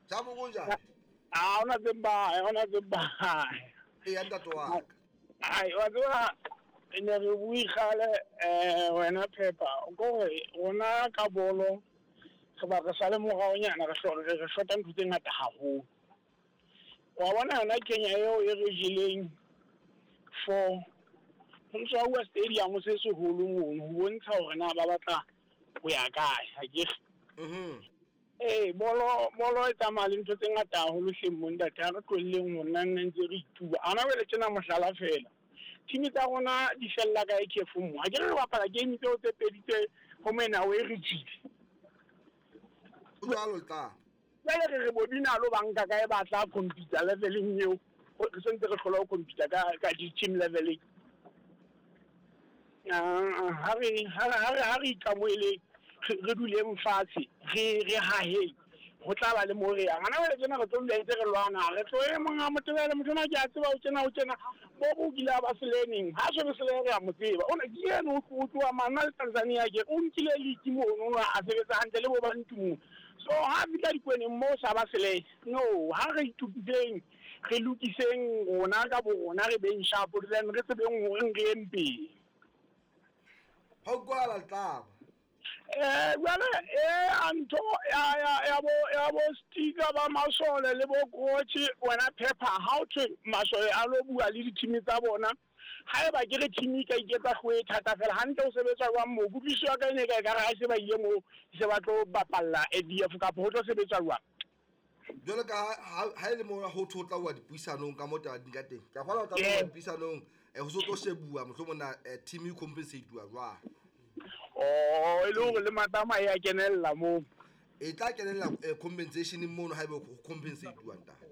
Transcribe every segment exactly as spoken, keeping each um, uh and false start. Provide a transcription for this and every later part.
Jabu kunjani? Ah, ona tseba, ona tseba. E ntate wa ka. Ai, wa tseba ne re bue kgale eh wena Pepper, ko re rona ka bolo re ba re sale moraonyana re hloka re shota ntho tse ngata haholo. Wa bona yona Kenya eo e re jeleng four ho ntso wa stadium se seholo mono ho bontsha hore na ba batla ho ya kae ha ke. Mhm. Eh bolo bolo e tsamaya le ntho tse ngata haholo hleng mo ntate ha re tlohelleng ho nna nne ntse re ituba. Ana wele tjena mohlala fela. Team tsa rona di fella kae khefu mo. Ha ke re bapala game tseo tse pedi tse ho mena o e re tjile. O jwalo tla. Jwale re re bobina lo banka kae ba tla compete leveleng eo. Re sentse re hlola ho compete ka ka di team leveleng. Ah ha re ha re ha re ikamoele re duleng fatshe re re haheng ho tla ba le mo re yang. Ana wele tsena re tlo dula ntse re lwana re tlo e monga motebele motho na ke a tseba o tjena o tjena bo bo kile ba selening ha se re re a mo tseba o ne ke yena o tloa mana le Tanzania ke o nkile league mono a sebetsa hantle le bo ba ntumo. So ha fitla dikweneng mo sa ba sele no ha re itukiseng re lokiseng rona ka bo rona re beng sharp then re tsebeng hore re eng pele. Ha kwala tlaba. Eh jwale eh antho ya ya ya bo ya bo sticker ba masole le bo coach wena Pepper how to masole a lo bua le di-team tsa bona. Haeba ke re team ka iketsa hloe thata fela hantle o sebetsa jwang mo kutlwisiso ya ka ene ka ekare ha se ba ile mo se ba tlo bapalla A D F kapa ho tlo sebetsa jwang. Jwale ka ha e le mo ho thotla wa dipuisanong ka mo taba di ka teng. Ka kgona ho tla wa dipuisanong ho so tlo shebuwa mohlomong na team e compensate wa jwang. Oh e le hore le matama ya kenella mo. E tla kenella compensation mono haebe ho compensate wa ntate.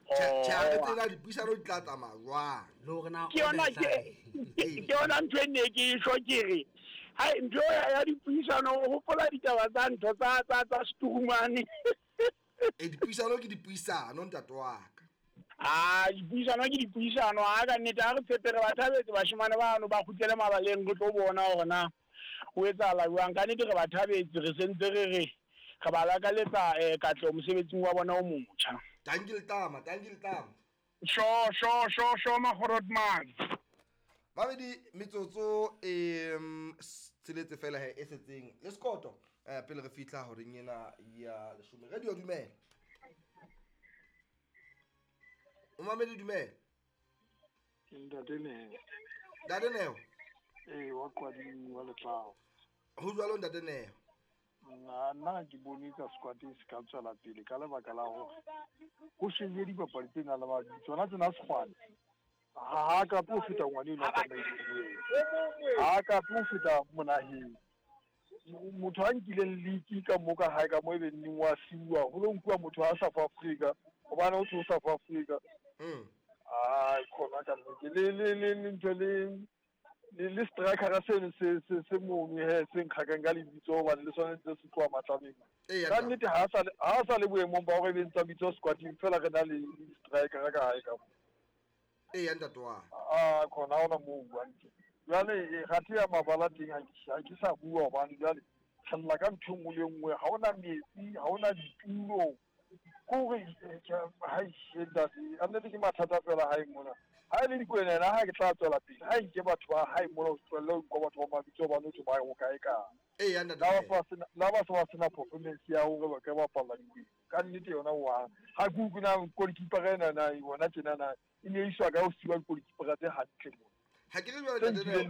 Tjhe re tsela dipuisano di tla tsamaya jwang. Le hore na ke yona ke ke yona ntho e ne ke e ke re. Hai ntho ya dipuisano ho hopola ditaba tsa ntho tsa tsa tsa Sturumane. E dipuisano ke dipuisano ntate wa ka. Ah dipuisano ke dipuisano ha ka nnete ha re tshepe re ba thabetse bashemane bano ba kgutlele mabaleng re tlo bona hore na ho etsahala jwang. Ka nnete re ba thabetse re sentse re re re ba lakaletsa eh katleho mosebetsing wa bona o motjha. Thank you Tama, thank you Tama. Sho sho sho sho Magorotman. Babedi metsotso e tsheletse fela he e setseng le sekoto eh pele re fihla horeng ena ya leshome. Radio dumela. O mamedi dumela. Ke ntate Neo. Ntate Neo. Eh wa Kwading wa Letlao. Ho jwalo ntate Neo. Nna nna ke bone ka squad se ka tswela pele ka lebaka la hore ho shebile dipapadi tse nang le mabitso tsona tsena sekgwane. Ha ka po feta ngwane eno ka maikutlo. Ha ka po feta monaheng. Motho a nkileng league ka mo ka hae ka mo e be neng wa siuwa ho lo nkuwa motho a South Africa hobane o tlo South Africa. Mm. Ah khona ka nnete le le le ntho le le le striker se se se se mono he se nkgakang ka lebitso hobane le sone ntse se tloha matlabeng. Ka nnete ha sa ha sa le boemong ba hore be ntsa bitso squading fela re na le striker ka hae ka mo. Ee ntate wa. Ah khona ona mo buang. Jwale ga thi ya mabala teng ha ke ha ke sa bua hobane jwale re lla ka ntho nngwe le nngwe ha ona metsi ha ona ditulo. Kore ha ntate a nnete ke mathata fela hae mona. Ha e le dikwena ena ha ke tla tswela pele ha nke batho ba hae mona ho tswella ho nka batho ba mabitso ba notho ba ho kae ka. Ee ntate. La ba ba sena performance ya hore ba ka bapalla dikwena. Ka nnete yona wa ha ke utlwe na goalkeeper ena na yona tjena na e ne iswa ka ho siwa goalkeeper tse hantle mona. Ha ke re jwale ntate Neo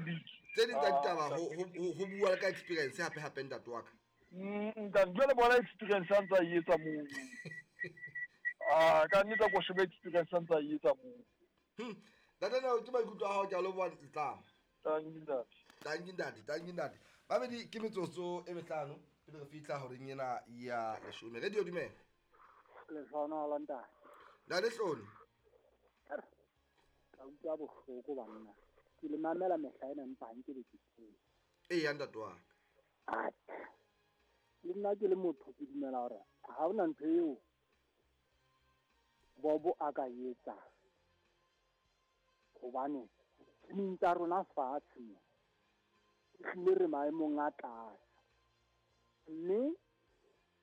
tse ding tsa ditaba ho ho bua ka experience hape hape ntate wa ka. Mm ntate jwale bona experience a ntsa e etsa moo. Ah ka nnete ko shebe experience a ntsa e etsa moo. Hm ntate Neo ke maikutlo a hao ke a lo bua tlama. Thank you ntate. Thank you ntate, thank you ntate. Babedi ke metsotso e mehlano pele re fihla horeng ena ya leshome. Radio dumela. Lehlono la ntate. Ntate Hloni. Ka utlwa bohloko banna. Ke le mamela mehla ena empa ha nke be ke tsebe. Ee ntate wa ka. Le nna ke le motho ke dumela hore ha hona ntho eo Bobo a ka etsa hobane team tsa rona fatshe mo ehlile re maemong a tlase mme